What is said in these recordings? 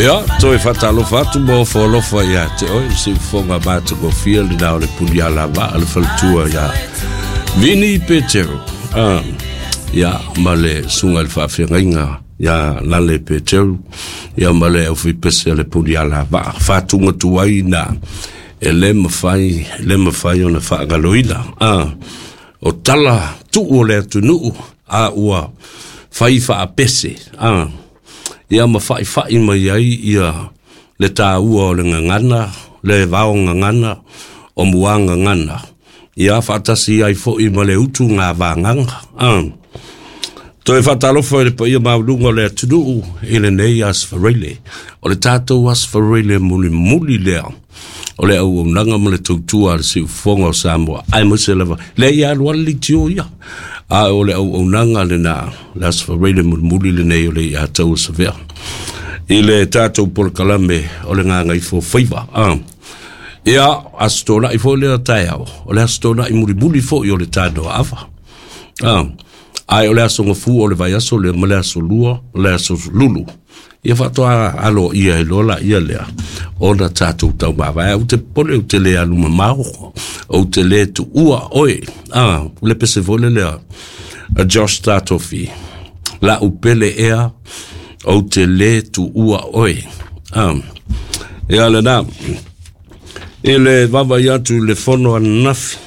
Ia, toe faatalofa atu ma ofo alofa ia te oe, le siufofoga matagofie lena o le Punialavaa, le faletua ia Vini Petero. Ah, ia, ma le susuga i le faafeagaiga ia Lale Petero, ia ma le aufaipese a le Punialavaa. Faatuga tuai na e le mafai, le mafai ona faagaloina. Ah, o tala tuu o le atunuu a ua fai faapese. Ah, ia ma fa'ifa'i mai ai ia le tāua o le gagana, le vao gagana, o muā gagana, ia faatasi ai fo'i ma le utu gavagaga. A. Toe faatalofa i le paia maualuga o le atunuu i lenei Aso Faraile. O le tatou Aso Faraile mulimuli lea o le auaunaga ma le tautua a le siufofoga o Samoa, aemaise lava lea ia alu alu leitio ia, a o le auaunaga lena, le Aso Faraile mulimuli lenei o le ia tau o Savea i le tatou polokalame o le Gagaifo Faiva. Ah. Ia, Aso Toonai foi lea taeao, o le Aso Toonai mulimuli foi o le Tanoa Ava. Ah. Ae o le aso Gafua o le vaiaso lea ma le aso Lua, le aso Lulu. Ia faatoa aloaia ai loa laia lea ona tatou taumavae. Ou te popole ou te le alu mamao, ou te le tuua oe. Ah, le pese foi lea a Josh Tatofi. La upele ea, ou te le tuua oe. Ah, ia lena. I le vaavaai atu i le fono ananafi,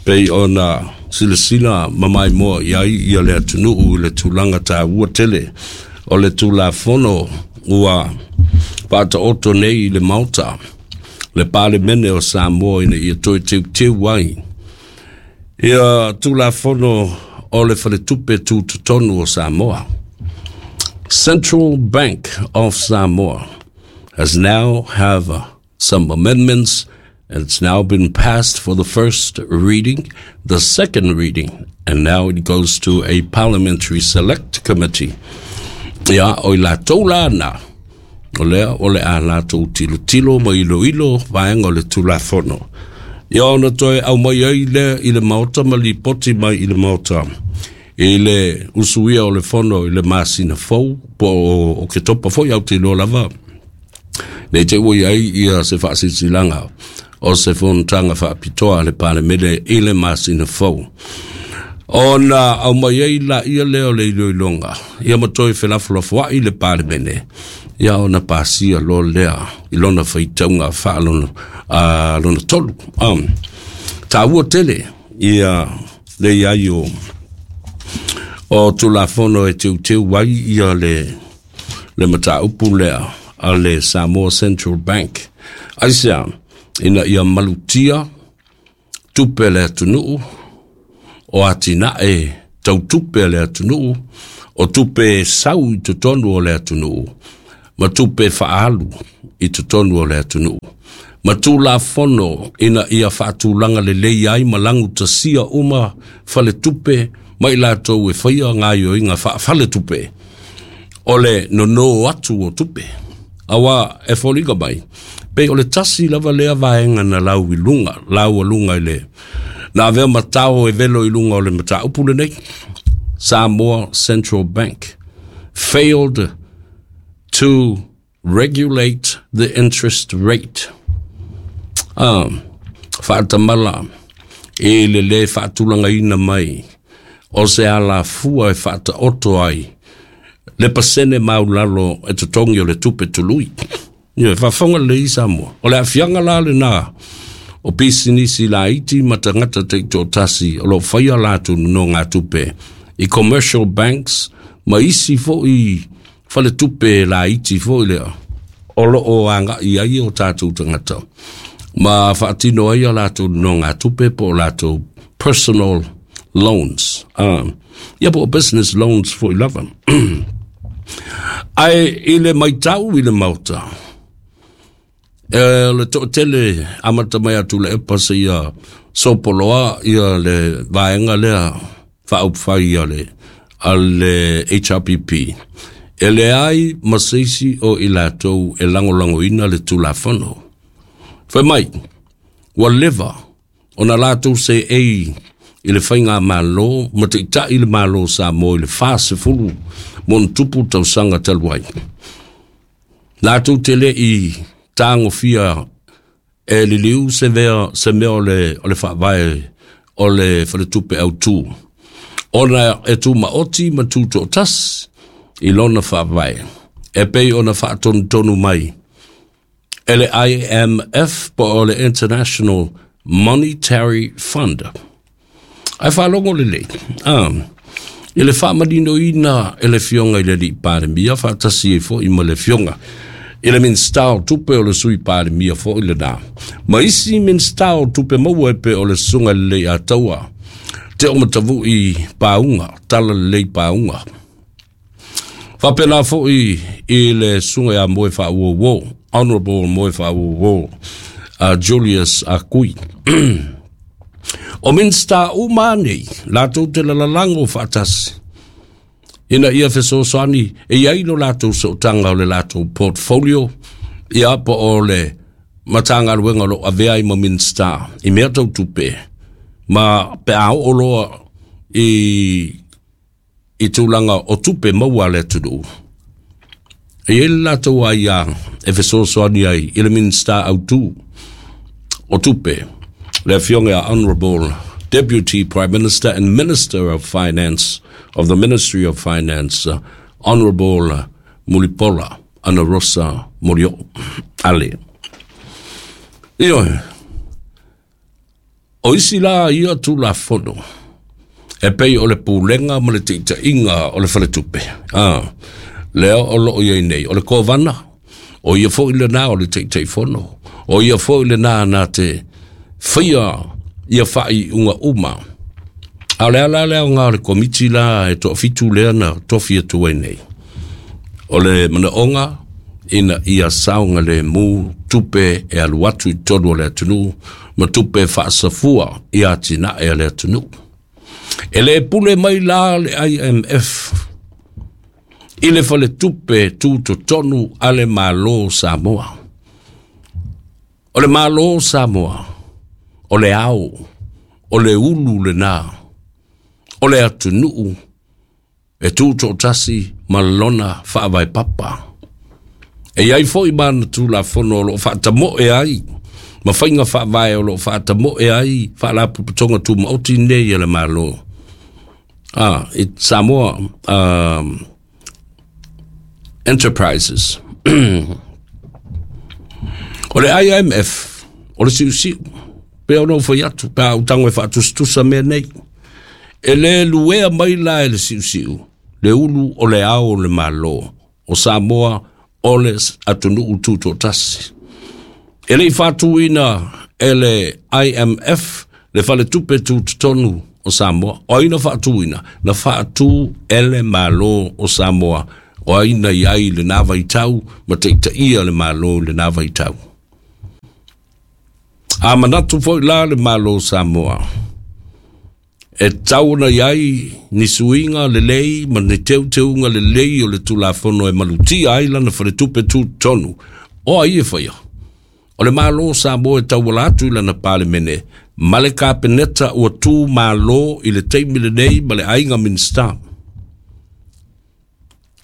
pei ona silasila ma maimoa i ai ia le atunuu i le tulaga taua tele o le Tulafono ua faataoto nei i le Maota, le Palemene o Samoa ina ia toe teuteu ai ia Tulafono o le Faletupe Tutotonu o Samoa. Central Bank of Samoa has now have some amendments and it's now been passed for the first reading, the second reading, and now it goes to a parliamentary select committee. Ia, o i latou la na, o lea o le a latou tilotilo ma iloilo vaega o le Tulafono. Ia ona toe aumai ai lea i le Maota ma lipoti mai i le Maota i le usuia o le fono i le masina fou po o Oketopa foi au te iloa lava. Nei te ua i ai ia se faasilasilaga o se fonotaga faapitoa a le Palemene i le masina fou. Ona aumai ai laia lea o le iloiloga, ia ma toe felafolafoai le Palemene, ia ona pasia loa lea i lona faitauga faalona, lona tolu. Taua tele ia le i ai o Tulafono e teuteu ai ia le mataupu lea a le Samoa Central Bank. Aisea, ina ia malutia tupe a le atunuu, o atinae tau tupe a le atunuu, o tupe sau i totonu o le atunuu, ma tupe faaalu i totonu o le atunuu. Ma Tulafono ina ia faatulaga lelei ai ma lagutasia uma faletupe ma i latou e faia gaoioiga faafaletupe o le nono atu o tupe. Aua e foliga mai, pei o le tasi lava lea vaega na lau i luga, laualuga i le na avea matao e velo i luga o le mataupu lenei. Samoa Central Bank failed to regulate the interest rate. Ah, faatamala e le lē faatulagaina mai o se alafua e faataoto ai le pasene maulalo e totogi o le tupe tului. Ia, faafofoga lelei Samoa. O le aafiaga la lena o pisinisi laiti ma tagata taitoatasi o lo o faia latou nonogatupe i commercial banks ma isi foi faletupe laiti foi lea o lo o agai ai o tatou tagata ma faatino ai a latou nonogatupe po o latou personal loans. Ia po o business loans foi lava. Ae i le maitau i le Maota, e le toatele amata mai atu le epa seia sopoloa ia le vaega lea faaupufai a le HRPP. E leai ma se isi o i latou e lagolagoina le Tulafono. Fai mai, ua leva ona latou seei i le faigamalo ma taitai le Malo o Samoa i le 40 ma ona tupu tausaga talu ai. Latou te le'i tagofia e liliu se mea, se mea o le, o le faavae o le faletupe autū, ona e tumaoti ma tutoatasi i lona faavae, e pei ona faatonutonu mai e le IMF po o le International Monetary Fund. Ae faalogo lelei, i le faamaninoina e le Afioga i le Alii Palemia faatasi ai foi ma le Afioga i le Minisita o Tupe o le Sui Palemia foi lena, ma isi Minisita o Tupe Maua e pei o le Susuga i le Leiataua Teomatavui Pauga, Talalelei Pauga. Faapena foi i le Susuga ia Moe Faauouo, Honorable Moe Faauouo, Julius Akui. O Minisita uma nei, latou te lalalago faatasi, ina ia fesoasoani e i ai lo latou sootaga o le latou portfolio, ia po o le Matagaluega o lo o avea ai ma Minisita i mea tau tupe, ma pe a oo loa i tulaga o tupe maua a le atunuu. E i ai le latou aia e fesoasoani ai i le Minisita autū o tupe, le Afioga ia Honourable Deputy Prime Minister and Minister of Finance of the Ministry of Finance, Honourable Mulipola Anarosa Molioo Ale. Ioe, o isi la ia Tulafono, e pei o le pulega ma le taitaiga o le faletupe, lea o loo i ai nei, o le Kovana, o ia foi lena o le Taitaifono, o ia foi lena na te faia ia faaiuga uma. A o le ala lea o ngā o le komiti la e toafitu lea na tofi atu ai nei. O le manaoga ina ia saogalemu tupe e alu atu i totonu o le atunuu ma tupe faasafua i atinae a le atunuu. E le pule mai la le IMF i le faletupe tutotonu a le Malo o Samoa. O le Malo o Samoa, o le ao, o le ulu lena, o le atunuu e tutoatasi ma lona faavae papa. E i ai foi ma ana Tulafono o loo faatamoe ai, ma faiga faavae o loo faatamoe ai Faalapotopotoga Tumaoti nei a le Malo. I Samoa Enterprises. O le IMF, o le siusiu, pe ona ou fai atu, pe a ou tago e faatusatusa mea nei. E le luea mai la e le siusiu, le ulu o le ao o le Malo o Samoa o le atunuu tutoatasi. E le i faatuina e le IMF le faletupe tutotonu o Samoa. O ai na faatuina? Na faatu e le Malo o Samoa. O ai na i ai lena vaitau ma taitaia le Malo i lena vaitau. A manatu foi la le Malo o Samoa, e tatau ona i ai ni suiga lelei ma ni teuteuga lelei o le Tulafono e malutia ai lana faletupe tutotonu. O ai e faia? O le Malo o Samoa e tauala atu i lana Palemene ma le Kapeneta ua tu malo i le taimi lenei ma le aiga Minisita.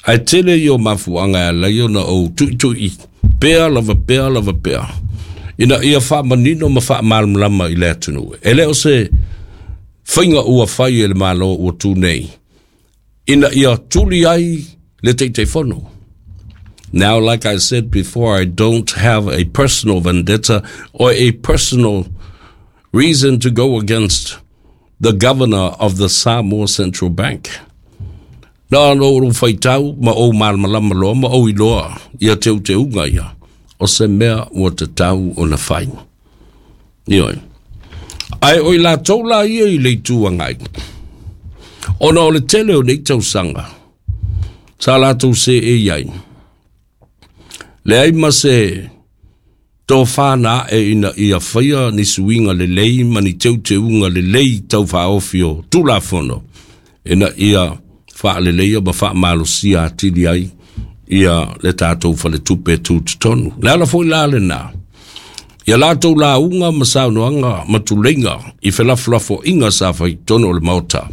Ae tele ia o mafuaaga e ala ai ona ou tuitui pea lava pea lava pea, ina ia faamanino ma faamalamalama i le atunuu. E le o se faiga ua fai e le Malo ua tu nei, ina ia tuli ai le Taitaifono. Now, like I said before, I don't have a personal vendetta or a personal reason to go against the governor of the Samoa Central Bank. Na ona ou faitau ma ou malamalama loa ma ou iloa ia teuteuga ia, o se mea ua tatau ona fai. Ioe. Ae o i latou la ia i le Itu Agai, ona o le tele o nei tausaga, sa latou seei ai, leai ma se tofa na ae ina ia faia ni suiga lelei ma ni teuteuga lelei tau faaofi o Tulafono, ina ia faaleleia ma faamalosia atili ai ia le tatou faletupe tutotonu. Le ala foi la lena, ia latou lauga ma saunoaga ma tuleiga i felafolafoaiga sa fai i totonu o le Maota,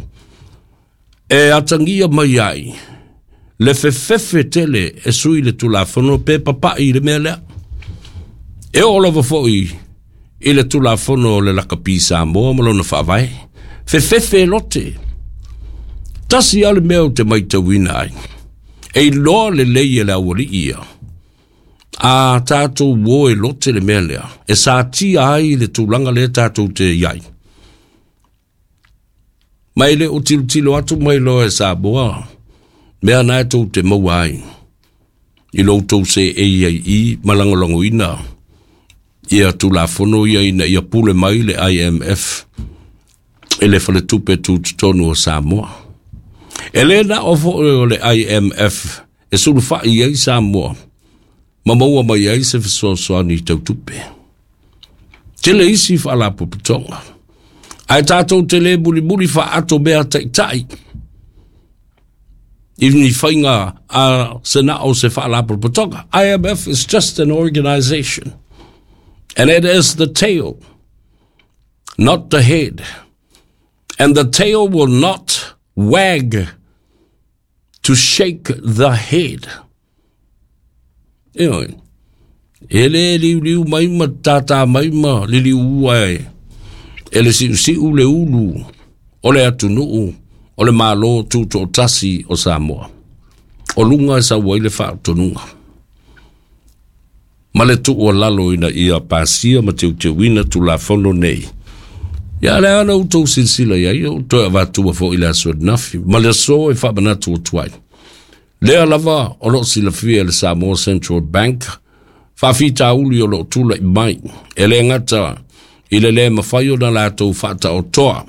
e atagia mai ai le fefefe tele e sui le Tulafono pe papa'i i le mea lea. E oo lava foi i le Tulafono o le Lakapi Samoa ma lona faavae, fefefe e lote. Tasi lava le mea ou te matauina ai, e iloa lelei e le aualii ia, a tatou o e lote le mea lea, e satia ai le tulaga lea tatou te i ai. Ma e le o tilotilo atu mai loa e Samoa, mea na e tou te maua ai i lo outou seei ai i ma lagolagoina ia Tulafono ia ina ia pule mai le IMF i le faletupe tutotonu o Samoa. E le na o foi o le IMF e sulufai ai Samoa ma maua mai ai se fesoasoani tau tupe. Tele isi faalapotopotoga. Ae tatou te le mulimuli faaato mea taitai i ni faiga a se na o se faalapotopotoga. IMF is just an organization. And it is the tail, not the head. And the tail will not wag to shake the head. Ioe. E le liuliu mai ma tātā mai ma liliu ai. E le siusiu le ulu o le atunuu o le Malo Tutoatasi o Samoa. O luga e sau ai le faatonuga. Ma le tuualalo ina ia pasia ma teuteuina Tulafono nei. Ia le ana outou silasila i ai, o toe avatua foi i le aso ananafi, ma le aso e faamanatu atu ai. Lea lava o loo silafia e le Samoa Central Bank faafitauli o loo tula'i mai, e le gata i le lē mafai ona latou faataotoa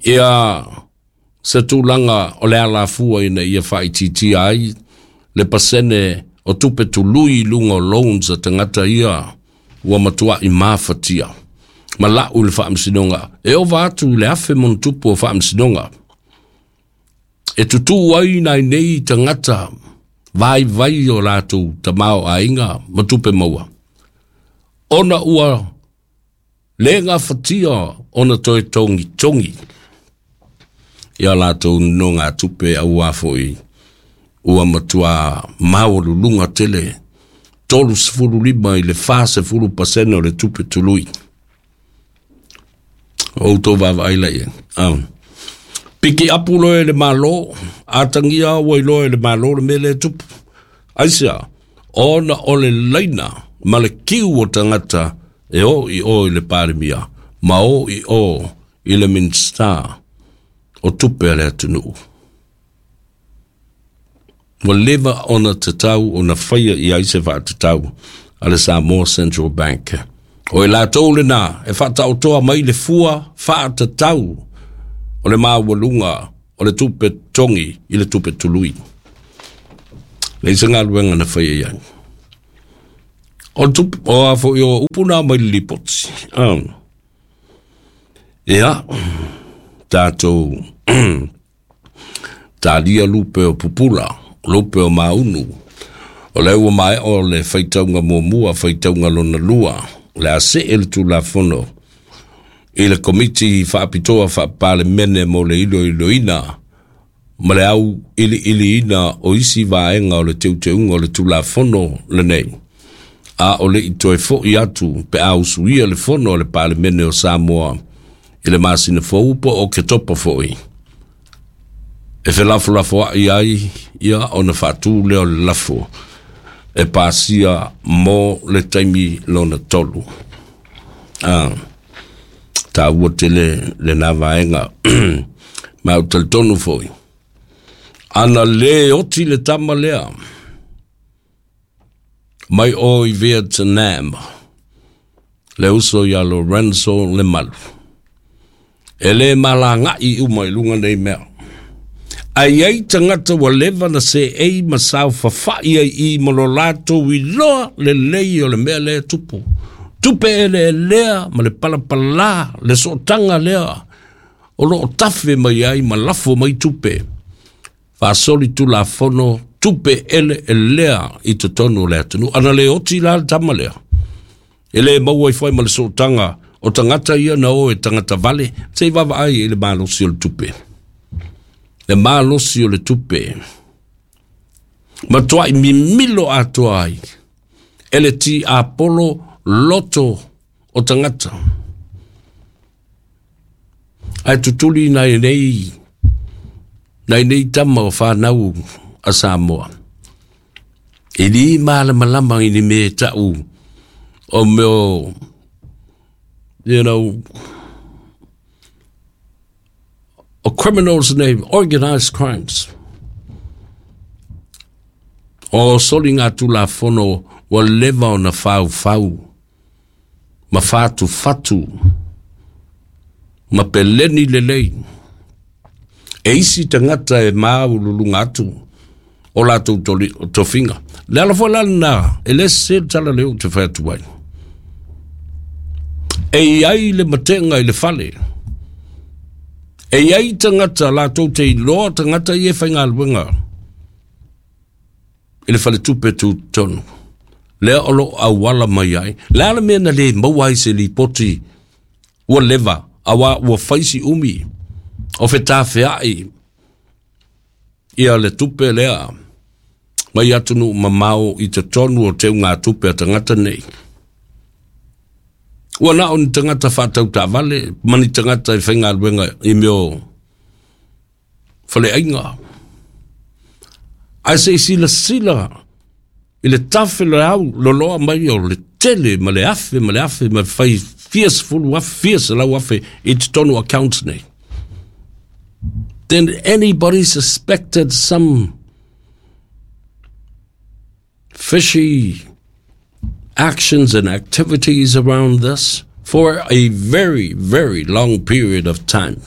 ia se tulaga o le alafua ina ia faaitiitia ai le pasene o tupe tului i luga o loans a tagata ia ua matua'i mafatia ma la'u i le faamasinoga e ova atu i le 1,000+ o faamasinoga e tutū ai nai nei tagata vaivai o latou tamaoaiga ma tupe maua ona ua le gafatia ona toe togitogi ia latou nonogatupe auā foi ua matuā maualuluga tele 35 i le 40% o le tupe tului. O outou vaavaai la i ai. Piki apu loa e le Malo, atagia ua iloa e le Malo le mea lea e tupu. Aisea? Ona o le laina ma le kiu o tagata e o i o i le Palemia ma o i o i le Minisita o tupe a le atunuu. Ua leva ona tatau ona faia i ai se faatatau a le Samoa Central Bank. O i latou lena e faataotoa mai le fua faatatau o le maualuga o le tupe totogi i le tupe tului. Leai se galuega na faia i ai. O le tupe, o a foi o upu na mai le lipoti. Ia, tatou talia lupe o pupula, lupe o maunu. O lea ua maea o le faitauga muamua, faitauga lona lua, o le a see le Tulafono i le Komiti Faapitoa Faa-Palemene mo le iloiloina ma le auiliiliina o isi vaega o le teuteuga o le Tulafono lenei, a o le i toe fo'i atu pe a usuia le Fono a le Palemene o Samoa i le masina fou po o Oketopa foi, e felafolafoa'i ai ia ona faatū lea o le lafo e pasia mo le taimi lona tolu. Taua tele lena vaega. Ma ou talitonu foi, ana lē oti le tama lea mai o i Vietnam, le uso ia Lorenzo Lemalu, e lē malaga'i uma i luga nei mea. Ae i ai tagata ua leva na seei ma saofafa'i ai i ma lo latou iloa lelei o le mea lea e tupu. Tupe eleelea ma le palapalā, le sootaga lea o lo o tafe mai ai ma lafo mai tupe. Faasoli Tulafono tupe eleelea i totonu o le atunuu. Ana le oti la le tama lea, e le maua ai foi ma le sootaga o tagata ia na o e tagata vale, se i vaavaai i le malosi o le tupe. Le malosi o le tupe. Matuai mimilo atoa ai e le tiapolo loto o tagata. Ae tutuli nai nei nai nei tama o whanau a Samoa. E li malamalama i ni me tau o meo, you know, o criminals nei, organized crimes. O soli ngā tulafono ua leva ona faufau ma fatu fatu ma peleni lelei. E isi tagata e maululuga atu o latou tofiga. Le ala foi la lena, e le sese le tala lea ou te fai atu ai. E i ai le matega i le fale. E i ai tagata latou te iloa tagata ia e faigaluega i le faletupe tutotonu. Lea o lo o auala mai ai. Le a le mea na le maua ai se lipoti ua leva, aua ua fai si umi o fetafeai ia le tupe lea mai atunuu mamao i totonu o teugatupe a tagata nei. Ua na o ni tagata faatau taavale ma ni tagata e faigaluega i mea o faleaiga. Ae se i silasila i le tafe leau loloa mai o le tele ma le afe ma le afe ma fai fia sefulu afe, fia selau afe i totonu accounts nei. Then anybody suspected some fishy actions and activities around this for a very, very long period of time?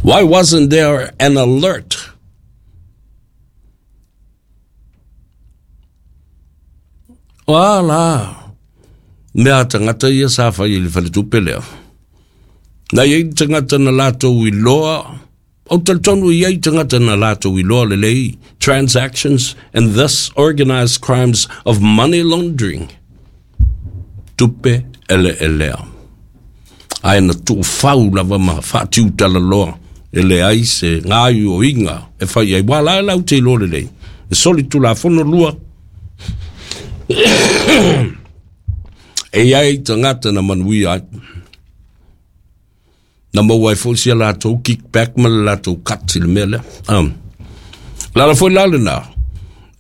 Why wasn't there an alert? O a la mea a tagata ia sa fai i le faletupe lea. Na i ai tagata na latou iloa, ou talitonu i ai tagata na latou iloa lelei transactions and thus organized crimes of money laundering. Tupe eleelea. Ae na tuufau lava ma faatiutalaloa e leai se gaoioiga e fai ai. Ua la e lau te iloa lelei. E soli tulafono lua. E i ai tagata na manuia ai. Na maua ai foi sia latou kickback ma le latou cut i le mea lea. Lala foi la lena.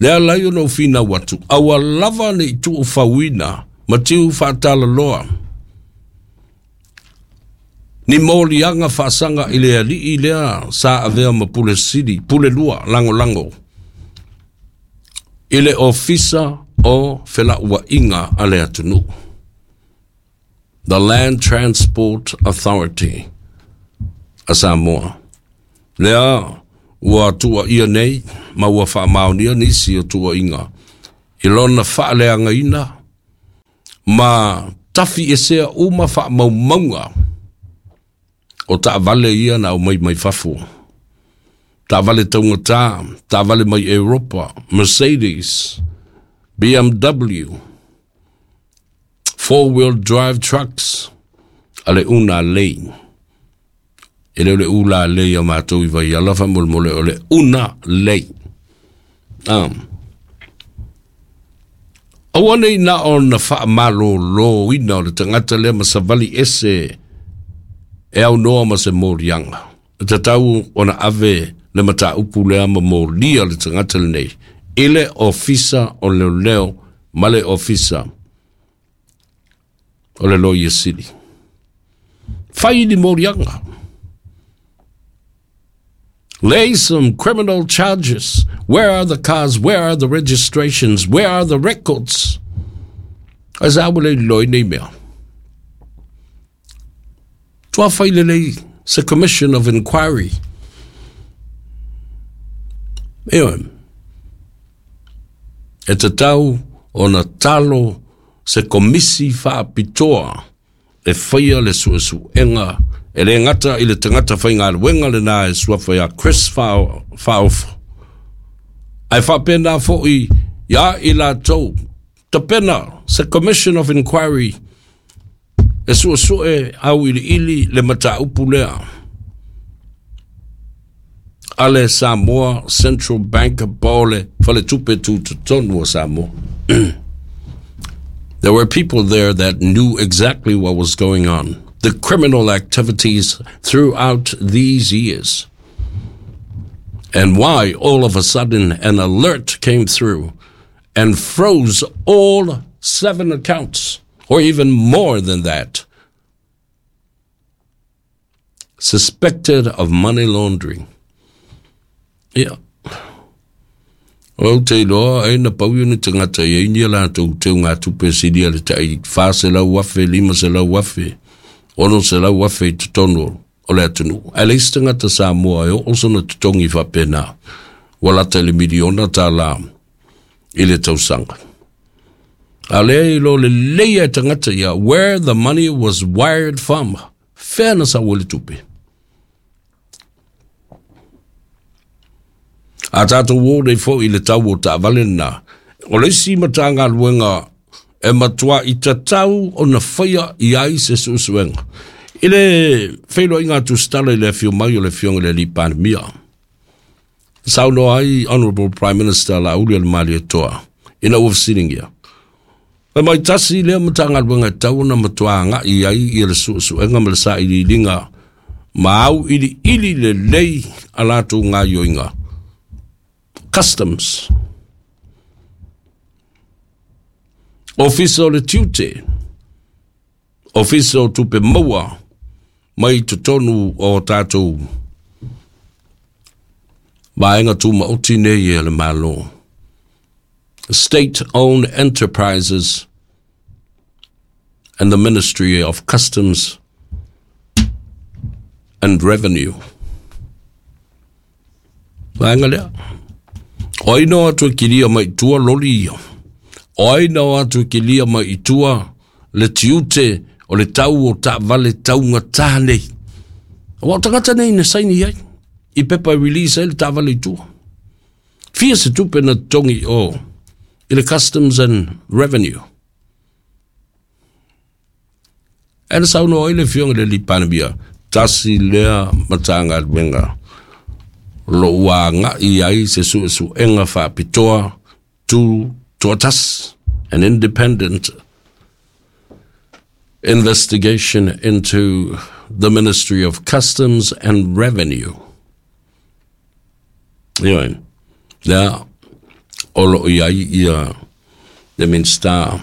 Lea lai ona ou finau atu, aua lava ne i tuufauina ma tiu faatalaloa ni moliaga faasaga i le alii lea sa avea ma pule sili, pule lua lagolago i le Ofisa o Felauaiga a le atunuu, the Land Transport Authority a Samoa. Lea ua tuuaia nei ma ua faamaonia nisi o tuuaiga i lona faaleagaina ma tafiesea uma faamaumauga o taavale ia na aumai mai fafo. Taavale taugata, taavale mai Europa, Mercedes, BMW, four-wheel drive trucks, a le una lei. E le o le ula lei a matou i Vaiala faamolemole o le una lei. Aua nei na ona faamaloloina o le tagata lea ma savali ese e aunoa ma se moliaga. E tatau ona ave le mataupu lea ma molia le tagata lenei i le Ofisa o Leoleo ma le Ofisa o le Loia Sili. Fai ni moliaga. Lay some criminal charges. Where are the cars? Where are the registrations? Where are the records? Ae sa ua le iloa i nei mea. Tua fai lelei se commission of inquiry. Ioe. E tatau ona talo se komisi faapitoa e faia le suesuega e le gata i le tagata faigaluega lena e suafa ia Chris Faaofo, ae faapena foi ia i latou tapena se Commission of Inquiry e suesue auiliili le mataupu lea. a le Samoa Central Bank po o le Faletupe Tutotonu o Samoa. There were people there that knew exactly what was going on, the criminal activities throughout these years. And why all of a sudden an alert came through and froze all 7 accounts, or even more than that, suspected of money laundering. Ia. Ou te iloa ai na pau ni tagata i ai ni a latou teugatupe silia le tai 400,000, 500,000, 600,000 i totonu o le atunuu. Ae leai se tagata Samoa e oo sona totogi faapena, ua lata i le miliona tala i le tausaga. A lea e iloa lelei e tagata ia where the money was wired from, fea na sau ai le tupe. A tātou o nei foi i le tau o taavale lena, o le isi Matagaluega e matua i tatau ona faia i ai se suesuega. I le feiloaiga a Tusitala i le afio mai o le Afioga i le Alii Palemia, saunoa ai Honourable Prime Minister Laauli o le Malietoa ina ua fesiligia, Fai mai tasi lea Matagaluega e tatau ona matua agai i ai ia le suesuega ma le sailiiliga ma auiliili lelei a latou gaoioiga, customs, Ofisa o le Tiute, Ofisa o Tupe Maua mai totonu o tatou vaega tumaoti nei e le Malo. State-owned enterprises and the Ministry of Customs and Revenue. Vaega lea. O ai na o atu e kilia mai i tua loli ia? O ai na o atu e kilia mai i tua le tiute o le tau o taavale taugata nei? Aua o tagata nei na saini ai i pepa e release ai le taavale i tua. Fia se tupe na totogi o i le Customs and Revenue. Ae na saunoa ai le Afioga i le Alii Palemia, tasi lea Matagaluega o lo o ua agai ai se suesuega faapitoa tu toatasi, an independent investigation into the Ministry of Customs and Revenue. Ioe, lea o lo o i ai ia le Minisita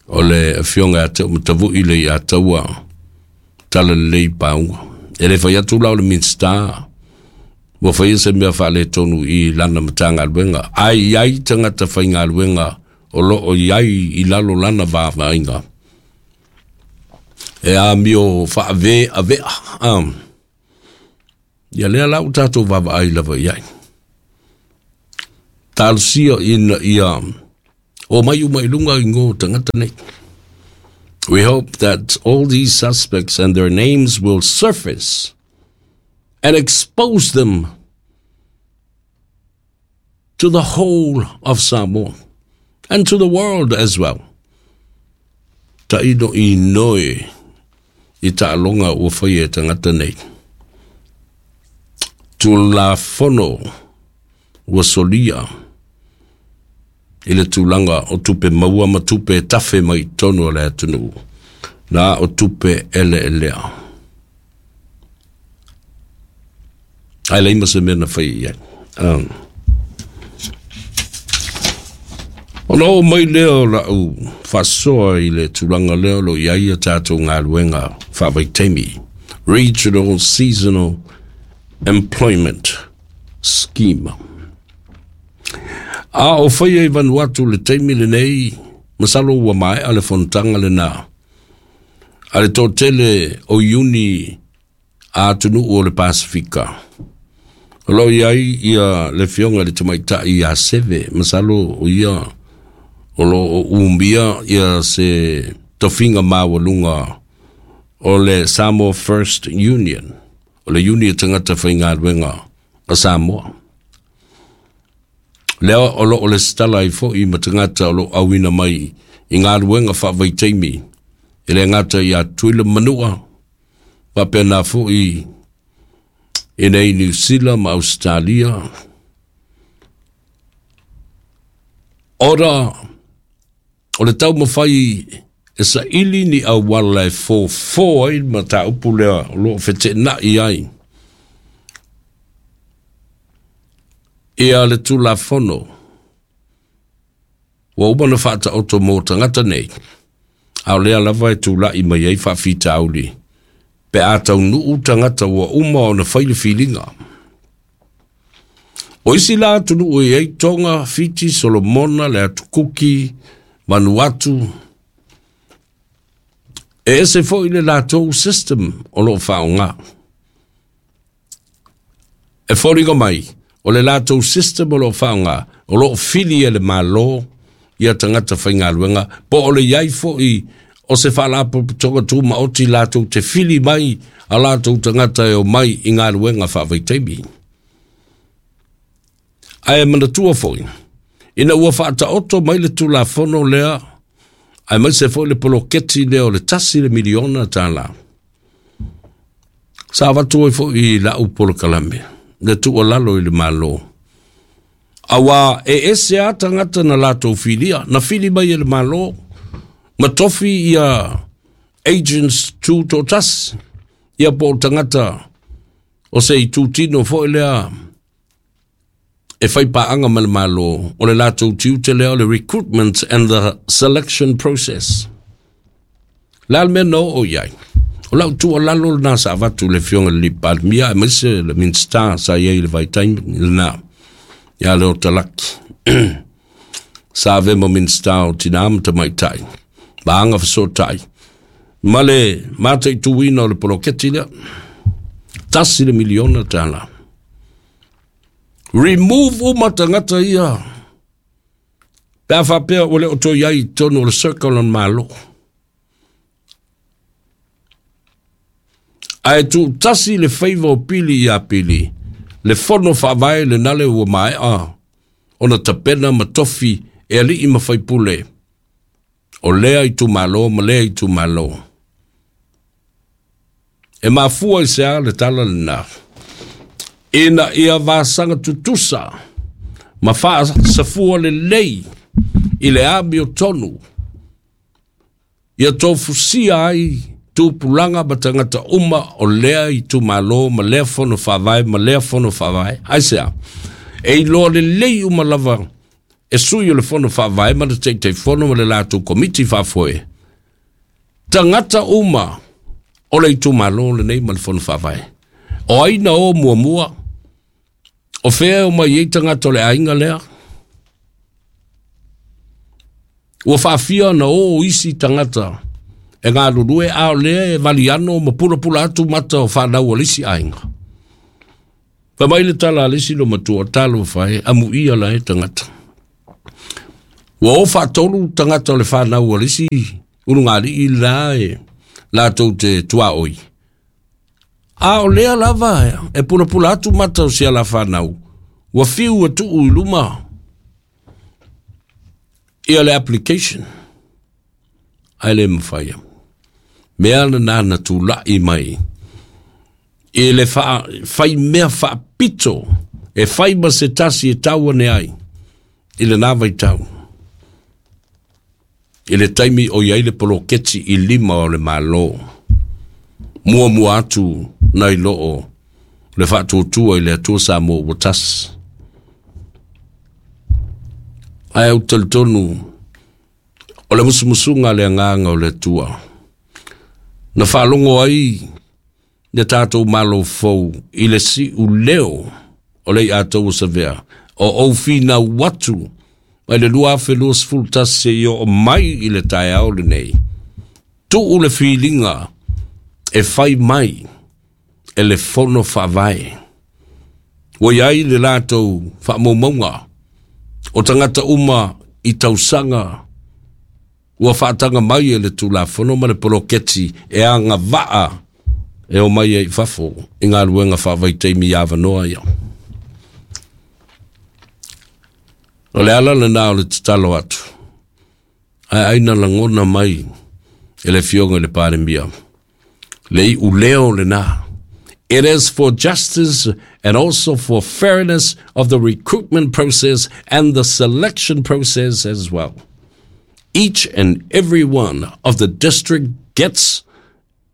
o le Afioga ia Teumatavu'i le ia Taua Talalelei Pauga. E le fai atu la o le Minisita ua faia se mea faaletonu i lana Matagaluega, ae i ai tagata faigaluega o lo o i ai i lalo lana vaavaaiga e amio faaveavea. Ia lea la ua tatou vaavaai lava i ai. Talosia ina ia o mai uma i lunga i ngō tagata nei. We hope that all these suspects and their names will surface and expose them to the whole of Samoa and to the world as well. Taino i noe i taaloga ua faia e tagata nei. Tulafono ua solia i le tulaga o tupe maua ma tupe e tafe mai i totonu o le atunuu, na o tupe eleelea. Ae leai ma se mea na fai i ai. Ona oo mai lea o lau faasoa i le tulaga lea o lo o i ai a tatou galuega faavaitaimi, Regional Seasonal Employment Scheme. A o faia i Vanuatu le taimi lenei, masalo ua maea le fonotaga lena a le toatele o Iuni a atunuu o le Pasefika. O lo o i ai ia le Afioga i le Tamaitai ia Seve, masalo o ia o lo o umia ia se tofiga maualuga o le Samoa First Union, o le Iuni a Tagata Faigaluega a Samoa. Lea o lo o lesitala ai foi ma tagata o lo o auina mai i galuega faavaitaimi, e le gata ia Tutuila Manua, faapena foi I nei Niu Sila ma Ausetalia, ona o le taumafai e saili ni auala e fofo ai le mataupu lea o lo o feteenai ai ia le Tulafono ua uma ona faataoto mo tagata nei, a o lea lava e tulai mai ai faafitauli pe a taunuu tagata ua uma ona fai le filiga. O isi la atunuu e i ai Tonga, Fiti, Solomona, le Atu Kuki, Vanuatu, e ese foi le latou system o lo o faaaoga. E foliga mai, o le latou system o lo o faaaoga, o lo o fili e le Malo ia tagata faigaluega, po o le i ai foi o se faalapotopotoga tumaoti latou te fili mai a latou tagata e omai i galuega faavaitaimi. Ae manatua foi, ina ua faataoto mai le Tulafono lea, aemaise foi le poloketi lea o le $1 miliona, sa avatu ai foi i lau polokalame le tuualalo i le Malo, aua e ese lava tagata na latou filia, na fili mai e le Malo, ma tofi ia agents tutoatasi, ia po o tagata o se itutino foi lea e fai paaga ma le Malo, o le latou tiute lea o le recruitment and the selection process. Le a le mea na oo i ai? O lau tuualalo lena sa avatu i le Afioga i le Palemia aemaise le Minisita sa i ai i le vaitaimi lena, ia Leo Talaki. Sa avea ma Minisita o Tina ma Tamaitai, ma Agafesootai, ma le mataituina o le poloketi lea. $1 miliona. Remove uma tagata ia pe a faapea ua le o toe i ai i totonu o le circle o le Malo. Ae tuutasi le faiva o Pili ia Pili, le fono faavae lena le ua maea ona tapena ma tofi e alii ma faipule o lea itumalo ma lea itumalo. E mafua i se a le tala lena, ina ia vasaga tutusa ma faasafua lelei i le amiotonu, ia tofusia ai tupulaga ma tagata uma o lea itumalo ma lea fono faavae ma lea fono faavae. Aisea? E iloa lelei uma lava e sui o le fono faavae ma le Taitaifono ma le latou komiti faafoe, tagata uma o le itumalo lenei ma le fono faavae. O ai na o muamua? O fea e omai ai tagata o le aiga lea? Ua faafia ona o isi tagata e galulue, a o lea e valiano ma pulapula atu mata o fanau a le isi aiga. Fai mai le tala a le isi lomatua, talofa e, amuia la e tagata. Ua o faatolu tagata o le fanau a le isi ulugalii la e latou te tuaoi. A o lea lava e pulapula atu mata o si ala fanau, ua fiu e tuu i luma ia le application, ae le mafai. Mea lena na tulai mai i le fai mea faapito e fai ma se tasi e tau ane ai i lena vaitau, i le taimi o i ai le poloketi i lima o le Malo, muamua atu nai loo le faatuatua i le Atua Samoa ua tasi. Ae ou te talitonu o le musumusuga a le agaga o le Atua na faalogo ai le tatou Malo fou i le siuleo o le iatau o Savea, o ou finau atu mai le 2021 seia oo mai i le taeao lenei, tuu le filiga e fai mai e le fono faavae. Ua i ai le latou faamaumauga o tagata uma i tausaga ua faataga mai e le Tulafono ma le poloketi e agavaa e omai ai i fafo i galuega faavaitaimi i avanoa ia. O le ala lena o le tatalo atu, ae ai na lagona mai e le Afioga i le Palemia le iuleo lena. It is for justice and also for fairness of the recruitment process and the selection process as well. Each and every one of the district gets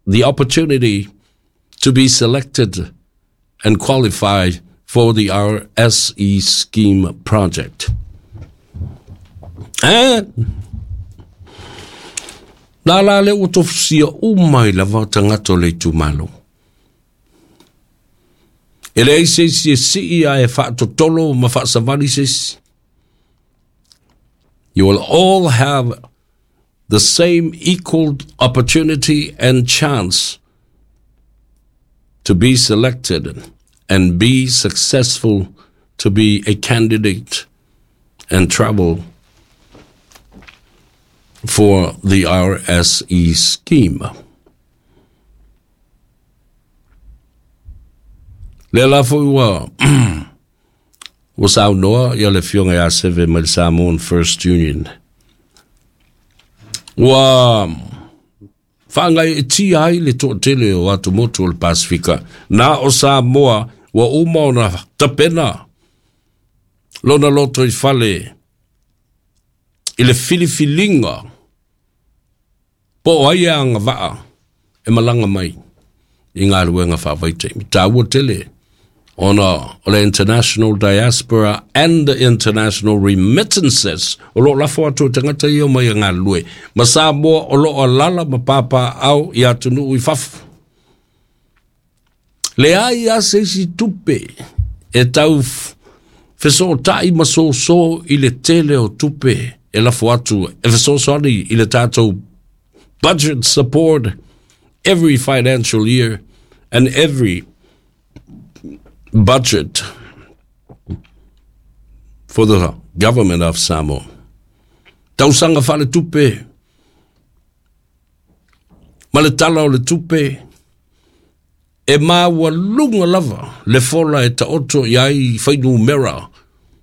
the opportunity to be selected and qualify for the RSE scheme project. And nā la le ua tofusia uma i lava tagata o le itumalo. E leai se isi e sii ae faatotolo ma faasavali se isi. You will all have the same equal opportunity and chance to be selected and be successful to be a candidate and travel for the RSE scheme. Lea la foi ua ua saunoa ia le Afioga ia Seve mai le Samoan First Union. Ua faagaeetia ai le toatele o atumotu o le Pasifika. Na o Samoa ua uma ona tapena lona loto i fale i le filifiliga po o ai e agavaa e malaga mai i galuega faavaitaimi. Taua tele ona o le international diaspora and the international remittances o lo o lafo atu e tagata ia mai e galulue ma Samoa o lo o alala ma papaao i atunuu i fafo. Leai lava se isi tupe e tau fesootai ma soso i le tele o tupe e lafo atu e fesoasoani i le tatou budget support every financial year and every budget for the government of Samoa. Tausaga faaletupe ma le tala o le tupe e maualuga lava le fola e taoto i ai fuainumera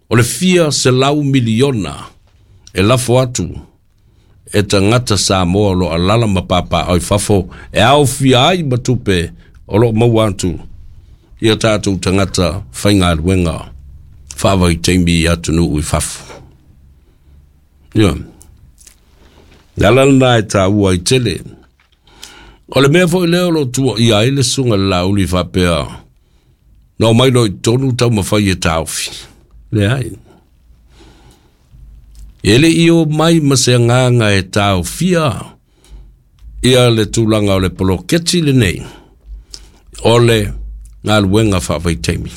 o le fia selau miliona e lafo atu e tagata Samoa o lo o alaala ma papaaao i fafo e aofia ai ma tupe o lo o maua atu i a tatou tagata faigaluega faavaitaimi i atunuu i fafo. Ia. Le ala lena e taua ai tele. O le mea foi lea o lo o tuuaia ai le susuga i le Laauli faapea, na omai loa i totonu taumafai e taofi. Leai. E le i omai ma se agaga e taofia ia le tulaga o le poloketi lenei o le galuega faavaitaimi.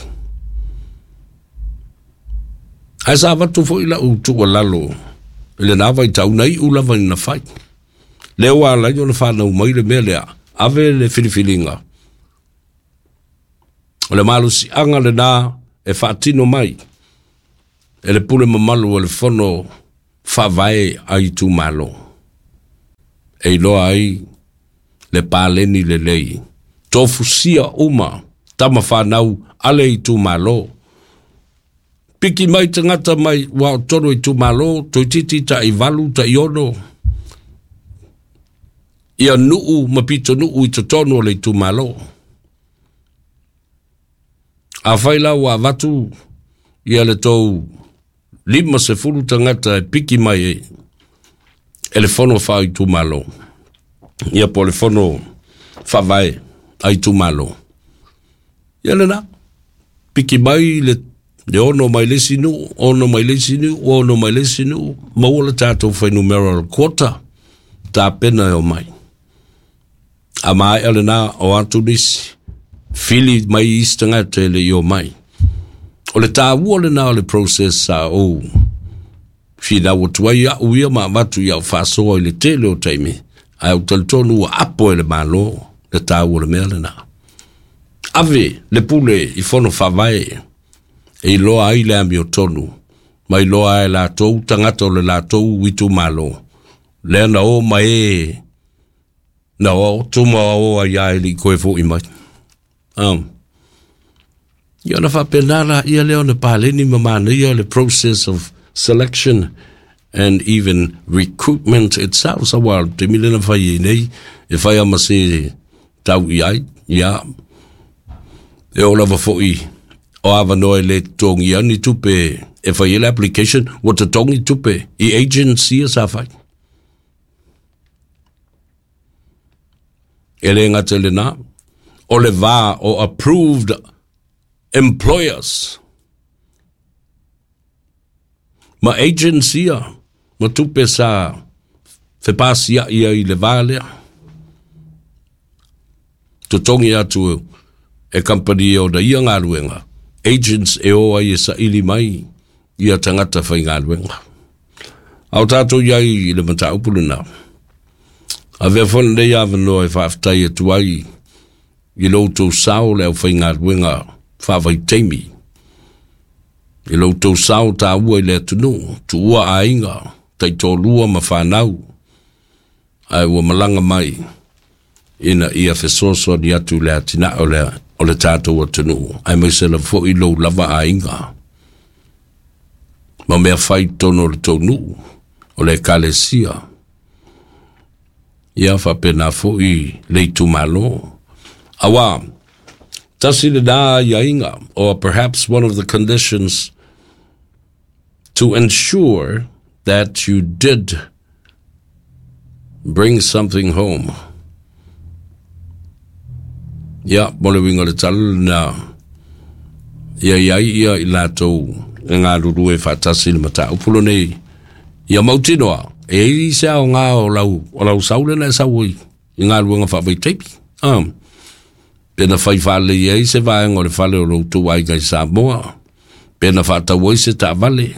Ae sa avatu foi lau tuualalo i lena vaitau na iu lava ina fai. Lea ua ala ai ona fanau mai le mea lea, ave le filifiliga. O le malosiaga lena e faatino mai e le pule mamalu o le Fono Faavae a itumalo, e iloa ai le paleni lelei, tofusia uma tama fanau a le itumalo. Piki mai tagata mai ua o totonu o itumalo, toeitiiti tai 8, tai 6, ia nuu ma pitonuu i totonu o le itumalo. Afai la ua avatu ia le tou 50 tagata e piki mai e le fono faaitumalo, ia po o le fono faavae a itumalo, ia lena, piki mai le 6 mai le isi nuu, 6 mai le isi nuu, 6 mai le isi nuu, maua le tatou fuainumera o le quota, tapena e omai. A maea lena o atu nisi, fili mai isi tagata e le i omai. O le taua lena o le process sa ou finau atu ai au ia ma avatu i au faasoa i le tele o taimi, ae ou talitonu ua apo e le Malo le taua o le mea lena. Ave le pule i fono faavae e iloa ai le amiotonu ma iloa ai e latou tagata o le latou itumalo lea na o ma e na o tuma o ai a e le i toe foi mai. Ia ona faapena laia lea ona paleni ma manaia le process of selection and even recruitment itself. Sa ua taimi lea na fai ai nei, e fai lava ma se tau i ai, ia. E oo lava foi o avanoa e lē totogia ni tupe e fai ai le application, ua totogi tupe i agents ia sa fai. E lē gata i lenā, o le va o approved employers ma agents ia ma tupe sa fepasia'i ai i le va lea. Totogi atu e kamupani ona ia galuega, agents e o ai e saili mai ia tagata faigaluega. A o tatou i ai i le mataupu lena, avea foi lenei avanoa e faafetai atu ai i lo outou sao le aufaigaluega faavaitaimi, i lo outou sao taua i le atunuu, tuua aiga, taitoalua ma fanau, ae ua malaga mai ina ia fesoasoani atu i le atinae o le, o le tatou atunuu, aemaise lava foi lou lava aiga ma mea fai i totonu o le tou nuu, o le ekalesia, ia faapena foi le itumalo. Auā, tasi lenā aiaiga, or perhaps one of the conditions to ensure that you did bring something home. Ia, mo le uiga o le tala lenā, ia i ai ia i latou e galulue faatasi i le mataupu lenei, ia mautinoa, e i ai se aoga o lau, o lau sau lea na e sau ai i galuega faavaitaimi. Ah, pe na fai faalelei ai se vaega o le fale o lo outou aiga i Samoa, pe na faatau ai se taavale,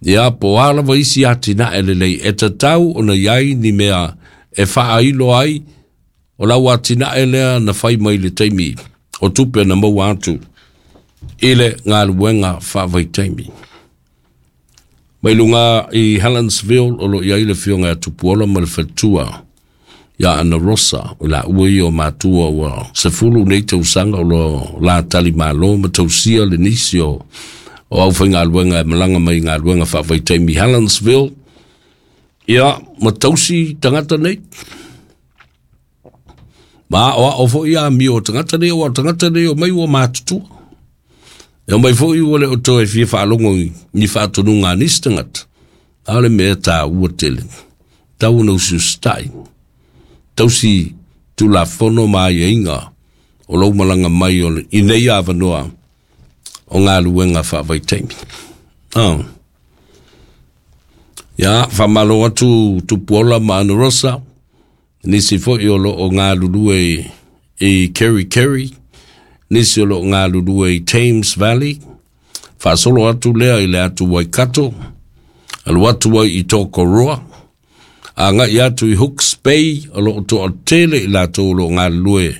ia po o a lava isi atinae lelei e tatau ona i ai ni mea e faailo ai o lau atinae lea na fai mai le taimi o tupe na maua atu i le galuega faavaitaimi. Mai luga i Helensville o lo o i ai le afioga ia Tupuola ma le faletua ia Ana Rosa, o laua ia o matua ua 10 nei tausaga o lo la talimalo ma tausia le nisi o o aufaigaluega e malaga mai i galuega faavaitaimi i Helensville, ia ma tausi tagata nei. Ma aoao foi amio o tagata nei, aua o tagata nei omai ua matutua. E omai foi ua le o toe fia faalogo i ni faatonuga a nisi tagata. A o le mea taua tele, tau ona usiusitai, tausi Tulafono ma aiaiga o lou malaga mai o le, i nei avanoa o galuega faavaitaimi. Oh. Ia, faamalo atu Tupuola ma Ana Rosa, nisi foi o lo o galulue i Kerikeri, nisi o lo o galulue i Thames Valley, faasolo atu lea i le atu Waikato, alu atu ai i Tokoroa, agai atu i Hooks Bay, o lo o toatele i latou o lo o galulue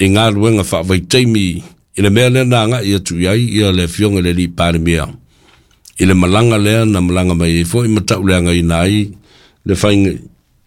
i galuega faavaitaimi i le mea lea na agai atu i ai ia le Afioga i le Alii Palemia i le malaga lea na malaga mai ai foi ma tauleagaina ai le